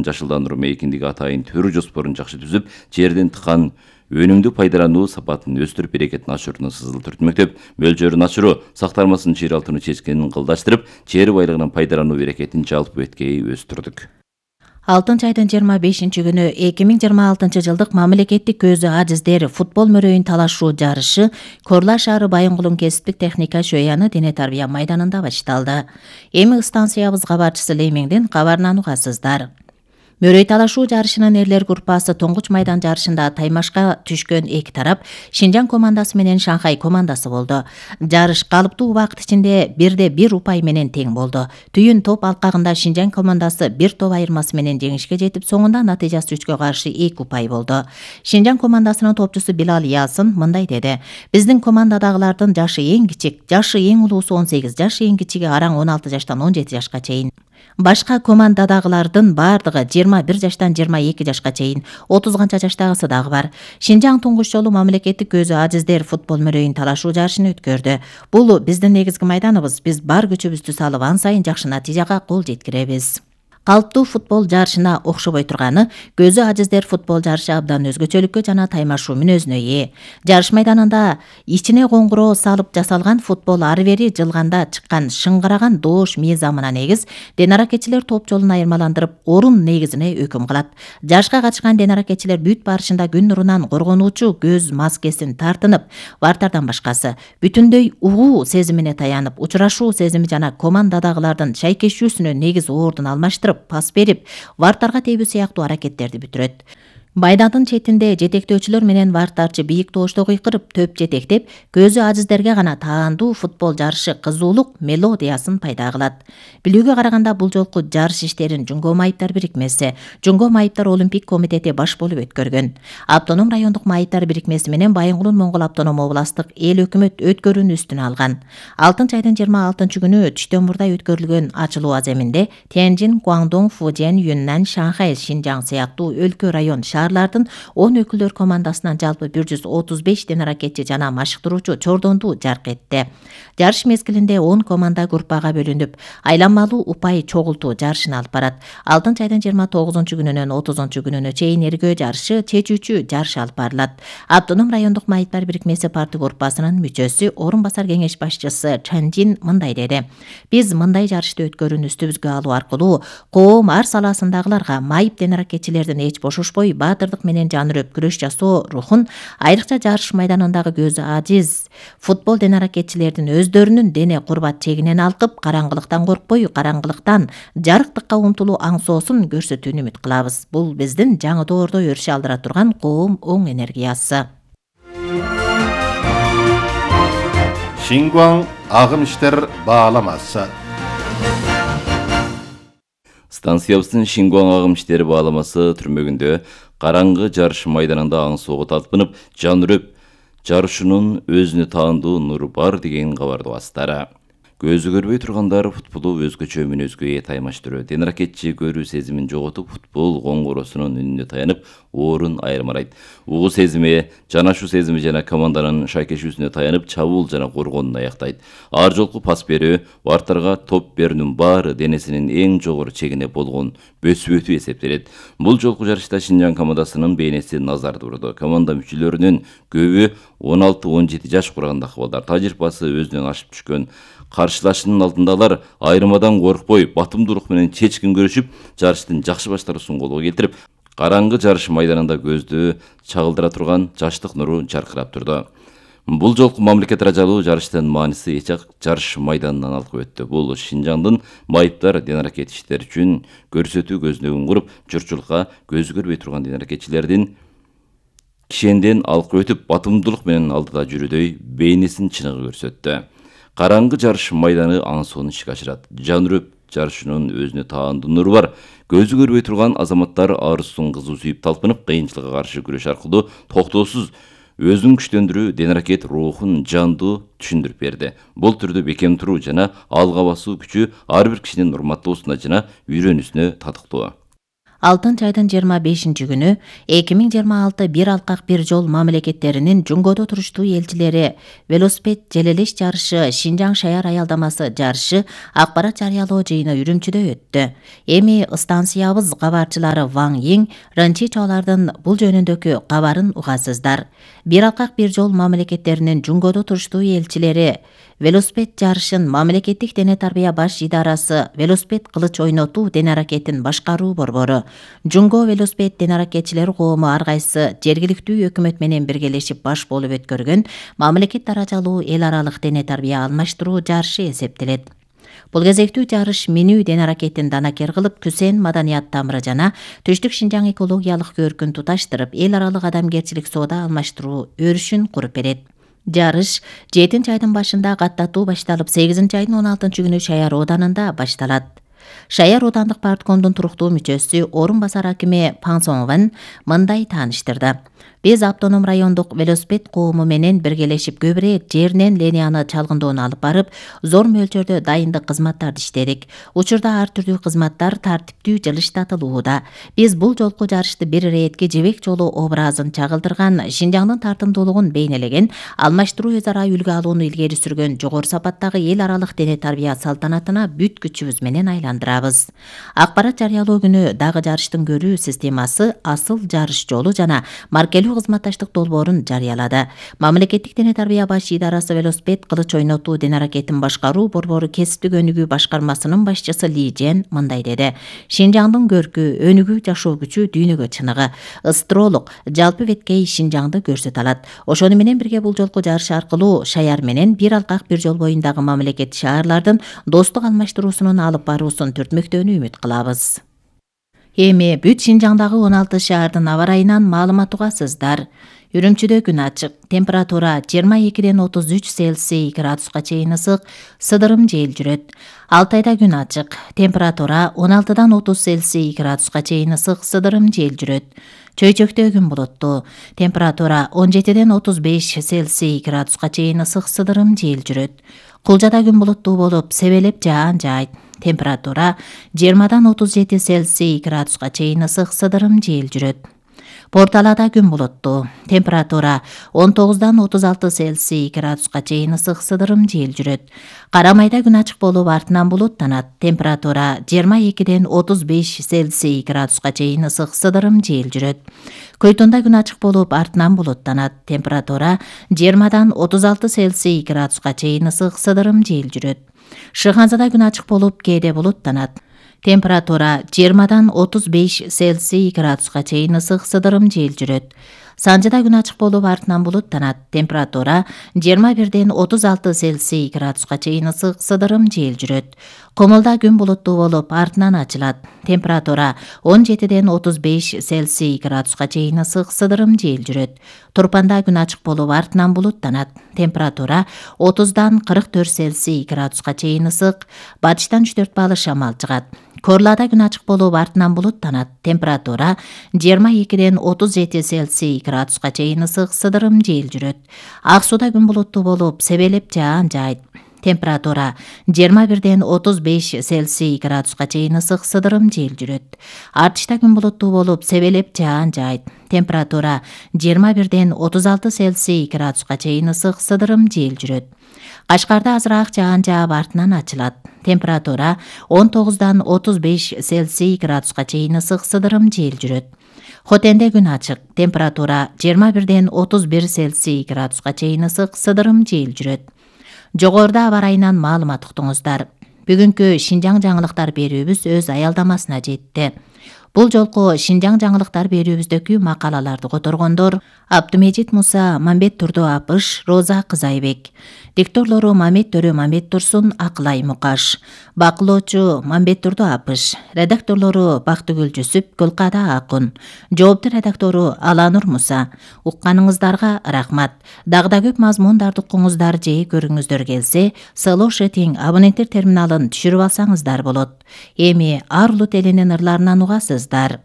жашоонун жашылдандыруу мейкиндиги атайын төрү жоспорун жакшы түзүп, жерден тыккан өнүмдү пайдалануу сапатын өстүрүп, берекетин ашырууну сызылтыртмөктөп, мөлчөрүн ашыруу, сакталмасын жер алтыны чечкенин кылдаштырып, жер байлыгынан пайдалануу берекетин жалпы өткөй өстүрдүк. Алтынчы айдын 25-күнү 2026 жылдык мамлекеттик көзү ажиздер футбол мөрөйүн талашуу жарышы Корла шаары Байынгулун кесиптик техника шөяны дене тарбия майданында башталды. Эми станциябыз кабарчысы Леймеңден кабарын угасыздар. Мөрөй талашуу жарышынын эрлер группасы тоңгуч майдан жарышында таймашка түшкөн эки тарап Шинжаң командасы менен Шанхай командасы болду. Жарыш калыптуу убакыт ичинде 1-1 упай менен тең болду. Түйүн топ алкагында Шинжаң командасы 1 топ айырмасы менен жеңишке жетип, соңунда натыйжасы 3-кө каршы 2 упай болду. Шинжаң командасынын топчусу Билал Ясын мындай деди: "Биздин командадагылардын жашы эң кичик, жашы эң улуусу 18 жаш, эң кичиги араң 16 жаштан 17 жашка чейин. Башка командадагылардын бардыгы 21 жаштан 22 жашка чейин, 30 канча жаштагысы дагы бар. Шинжаң туңгуч жолу мамлекеттик көзү ажиздер футбол мөрөйүн талашуу жарышын өткөрдү. Бул биздин негизги майданыбыз. Биз бар күчүбүздү салып, ан сайын жакшы натыйжага кол жеткиребиз." Калыптуу футбол жарышына окшобой турганы, көзү ажиздер футбол жарышы абдан өзгөчөлүккө жана таймашуу мүнөзүнө ээ. Жарыш майданында ичине коңгуроо салып жасалган футбол ары бери жылганда чыккан шыңгыраган доош мыйзамына негиз ден аракетчилер топ жолун айырмаландырып, орун негизине өкүм кылат. Жарышка катышкан ден аракетчилер бүт барышында күн нурунан коргонуучу көз маскесин тартынып, вартардан башкасы бүтүндөй угуу сезимине таянып, учурашуу сезими жана командадагылардын шайкешүүсүнө негиз ордун алмаштырып, пас берип, вартарга тийбүү сыяктуу аракеттерди бүтүрөт. Майдандын четинде жетектөөчүлөр менен вартарчы бийик тоошто кыйкырып, төп жетектеп, көзү ажиздерге гана таандуу футбол жарышы кызуулук мелодиясын пайда кылат. Билүүгө караганда бул жолку жарыш иштерин Жунго майыптар бирикмеси, Жунго майыптар Олимпик комитети баш болуп өткөргөн. Автоном райондук майыптар бирикмеси менен Байынгулун Моңгол автоном областтык эл өкмөт өткөрүүнү үстүнө алган. 6 айдын 26-күнү түштөн мурда өткөрүлгөн ачылуу аземинде Тяньжин, Гуандong, Фужен, Юннан, Шанхай, Шинжаң сыяктуу өлкө район шаарлардын 10 өкүлдөр командасынан жалпы 135 ден аракетчи жана машыктыруучу чордонду жарк этти. Жарыш мезгилинде 10 команда группага бөлүнүп, айланмалуу упай чогултуу жарышын алып барат. 6 айдын 29-күнүнөн 30-күнүнө чейин эргөө жарышы, чечүүчү жарыш алып барылат. Автоном райондук майыптар бирикмеси парты группасынын мүчөсү, орун басар кеңеш башчысы Чанжин мындай деди: "Биз мындай жарышты өткөрүүнү үстүбүзгө алуу аркылуу коом ар салаасындагыларга майып ден аракетчилердин эч бошошпой баатырдык менен жанырып күрөш жасоо рухун, айрыкча жарыш майданындагы көзү ажиз футбол ден аракетчилердин өздөрүнүн дене курбат чегинен алкып, караңгылыктан коркпой, караңгылыктан жарыктыкка умтулуу аңсоосун көрсөтүүнү үмүт кылабыз. Бул биздин жаңы доордо өрүш алдыра турган коом оң энергиясы." Шингуаң агым иштер бааламасы. Станциябыздын Шингуаң агым иштери бааламасы түрмөгүндө караңгы жарыш майданында аңсоого талпынып, жан үрөп, жарышуунун өзүнө таандуу нуру бар деген кабарды угасыздар. Көзү көрбөй тургандар футболу өзгөчө мүнөзгө ээ таймаштыруу, ден аракетчи көрүү сезимин жоготуп, футбол коңгуроосунун үнүнө таянып, орун айырмалайт. Угуу сезими, жанашуу сезими жана команданын шайкешүүсүнө таянып, чабуул жана коргоонун аяктайт. Ар жолку пас берүү, вартарга топ берүүнүн баары денесинин эң жогору чегине болгон бөсүп өтүү эсептелет. Бул жолку жарышта Шинжаң командасынын бейнеси назарды бурду. Команда мүчөлөрүнүн көбү 16-17 жаш курган акыбалдар. Тажрыйбасы өзүнөн ашып түшкөн каршылашынын алдында алар айырмадан коркпой, батымдуулук менен чечкин күрөшүп, жарыштын жакшы баштаруусун колго келтирип, караңгы жарыш майданында көздү чагылдыра турган жаштык нуру жаркырап турду. Бул жолку мамлекет ыражалуу жарыштын мааниси Эчак жарыш майданынан алкып өттү. Бул Шинжаңдын майыптар ден аракет иштери үчүн көрсөтүү көзүнөгүн куруп, журтчулукка көзү көрбөй турган ден аракетчилердин кишенден алкып өтүп, батымдуулук менен алдыда жүрүүдөй бейнесин чыныгы көрсөттү. Караңгы жарыш майданы аңсоону ишке ашырат. Жан үрөп, жарышуунун өзүнө таандуу нуру бар, көзү көрбөй турган азаматтар арызсун кызуу сүйүп талпынып, кыйынчылыкка каршы күрөш аркылуу токтоосуз өзүн күчтөндүрүү, ден аракет рухун жандуу түшүндүрүп берди. Бул түрдө бекем туруу жана алга басуу күчү ар бир кишинин урматтоосуна жана үйрөнүүсүнө татыктуу. 6 айдын 25 күнү 2026 бир алкак бир жол мамлекеттеринин Жунгодо туруштуу элчилери велосипед желелеш жарышы Шинжаң шаяр аялдамасы жарышы акпарат жарыялоо жыйыны Үрүмчүдө өттү. Эми станциябыз кабарчылары Ваң Йиң Рынчи чоолардын бул жөнүндөгү кабарын угасыздар. Бир алкак бир жол мамлекеттеринин Жунгодо туруштуу элчилери велосипед жарышын мамлекеттик дене тарбия баш идарасы велосипед кылыч ойнотуу дене аракетин башкаруу борбору Жунго велосипед дене аракетчилер коому ар кайсы жергиликтүү өкмөт менен биргелешип баш болуп өткөргөн мамлекет даражалуу эл аралык дене тарбия алмаштыруу жарышы эсептелет. Бул кезектүү жарыш менүү дене аракетин данакер кылып, күсен маданият тамыры жана түштүк Шинжаң экологиялык көркүн туташтырып, эл аралык адамгерчилик соода алмаштыруу өрүшүн куруп берет. Жарыш 7 айдын башында каттатуу башталып, 8 айдын 16 күнү Шаяр оданында башталат. Шаяр оодандык парткомдун туруктуу мүчөсү орун басар акиме Паң Соңван мындай тааныштырды. Биз автоном райондук велосипед коому менен биргелешип көбүрөөк жеринен линияны чалгындоону алып барып, зор мөлчөрдө дайындык кызматтарды иштедик. Учурда ар түрдүү кызматтар тартиптүү жылыштатылууда. Биз бул жолку жарышты бир иретке жебек жолу образын чагылдырган, Шинжаңдын тартымдуулугун бейнелеген, алмаштыруу өз ара үлгү алууну илгери сүргөн жогору сапаттагы эл аралык дене тарбия салтанатына бүт күчүбүз менен айландырабыз. Акпарат жарыялоо күнү дагы жарыштын көрүү системасы, асыл жарыш жолу жана маркелүү кызматташтык долбоорун жарыялады. Мамлекеттик дене тарбия баш идарасы велосипед кылыч ойнотуу дене аракетин башкаруу борбору кесиптик өнүгүү башкармасынын башчысы Ли Жен мындай деди. Шинжаңдын көркү, өнүгүү жашоо күчү дүйнөгө чыныгы. Астролог жалпы беткей Шинжаңды көрсөтө алат. Ошону менен бирге бул жолку жарыш аркылуу Шаяр менен бир алкак бир жол боюндагы мамлекет шаарлардын достук алмаштыруусунун алып баруусун түртмөктөөнү үмүт кылабыз. Эми бүт Шинжаңдагы 16 шаардын аба ырайынан маалымат угасыздар. Үрүмчүдө күн ачык, температура 22ден 33 Цельсий градуска чейин ысык, сыдырым жел жүрөт. Алтайда күн ачык, температура 16дан 30 Цельсий градуска чейин ысык, сыдырым жел жүрөт. Чөйчөктө күн булуттуу, температура 17ден 35 Цельсий градуска чейин ысык, сыдырым жел жүрөт. Кулжада күн булуттуу болуп, себелеп жаан жайт. Температура 20дан 37 Цельсий градуска чейин ысык, сыдырым жел жүрөт. Порталада күн булуттуу, температура 19дан 36 Цельсий градуска чейин ысык, сыдырым жел жүрөт. Карамайда күн ачык болуп, артынан булуттанат. Температура 22ден 35 Цельсий градуска чейин ысык, сыдырым жел жүрөт. Көйтүндө күн ачык болуп, артынан булуттанат. Температура 20дан 36 Цельсий градуска чейин ысык, сыдырым жел жүрөт. Шыгансада күн ачык болуп, кээде булуттанат. Температура 20дан 35 Цельсий градуска чейин ысык, сыдырым жел жүрөт. Санжыда күн ачык болуп, артынан булуттанат. Температура 21ден 36 Цельсий градуска чейин ысык, сыдырым жел жүрөт. Комулда күн булуттуу болуп, артынан ачылат. Температура 17ден 35 Цельсий градуска чейин ысык, сыдырым жел жүрөт. Турпанда күн ачык болуп, артынан булуттанат. Температура 30дан 44 Цельсий градуска чейин ысык, батыштан 3-4 балл шамал жыгат. Корлада күн ачык болуп, артынан булуттанат. Температура 22ден 37 Цельсий градуска чейин ысык, сыдырым жел жүрөт. Ак сууда күн булуттуу болуп, себелеп жаан жайт. Температура 21ден 35 Цельсий градуска чейин ысык, сыдырым жел жүрөт. Артышта күн булуттуу болуп, себелеп жаан жайт. Температура 21ден 36 Цельсий градуска чейин ысык, сыдырым жел жүрөт. Кашкарда азыраак жаан жаап, артынан ачылат. Температура 19дан 35 Цельсий градуска чейин ысык, сыдырым жел жүрөт. Хотенде күн ачык, температура 21ден 31 Цельсий градуска чейин ысык, сыдырым жел жүрөт. Жогоруда аба ырайынан маалымат уктуңуздар. Бүгүнкү Шинжаң жаңылыктар берүүбүз өз аялдамасына жетти. Бул жолку Шинжаң жаңылыктар берүүбүздөгү макалаларды которгондор Абдумежит Муса, Мамбет Турду Апыш, Роза Кызайбек. Дикторлору Мамет Төрө Мамет Турсун, Акылай Мукаш. Бакылоочу Мамбет Турду Апыш. Редакторлору Бактыгүл Жүсүп, Гүлкада Акун. Жоопту редактору Аланур Муса. Укканыңыздарга рахмат. Дагы да көп мазмундарды укуңуздар же көрүңүздөр келсе, Слушатиң абоненттер терминалын түшүрүп алсаңыздар болот. Эми ар улут элинин ырларынан угасыздар.